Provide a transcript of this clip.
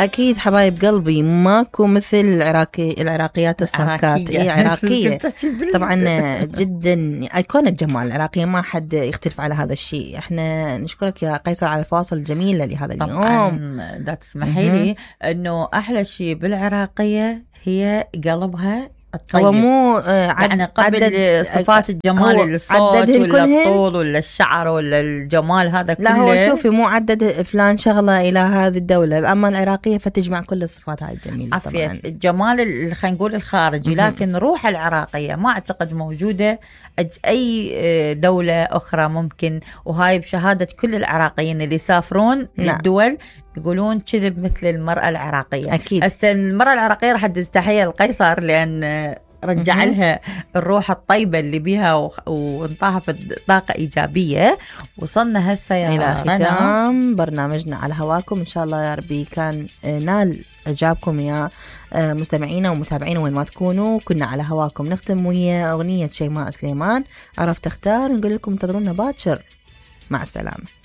اكيد حبايب قلبي، ماكو مثل العراقيات الصاكات. اي عراقيه طبعا جدا ايقونه جمال العراقيه، ما حد يختلف على هذا الشيء. احنا نشكرك يا قيصر على الفاصل الجميله لهذا اليوم. طبعا دا تسمحي لي انه احلى شيء بالعراقيه هي قلبها الطيب. هو مو يعني قبل صفات الجمال، الصوت ولا الطول ولا الشعر ولا الجمال هذا كله. لا هو شوفي مو عدد فلان شغله الى هذه الدوله، اما العراقيه فتجمع كل الصفات هاي الجميله. طبعا الجمال خلينا نقول الخارجي، لكن روح العراقيه ما اعتقد موجوده اي دوله اخرى ممكن. وهاي بشهاده كل العراقيين اللي يسافرون للدول يقولون كذب مثل المرأة العراقية. أكيد. هسه المرأة العراقية راح تستحي القيصر لأن رجع لها الروح الطيبة اللي بيها وانطاها في طاقة إيجابية. وصلنا هسه يا إلى ختام برنامجنا على هواكم. إن شاء الله يا ربي كان نال إعجابكم يا مستمعينا ومتابعينا وين ما تكونوا. كنا على هواكم نختم ويا أغنية شيماء سليمان عرفت اختار. نقول لكم انتظرونا باكر، مع السلامة.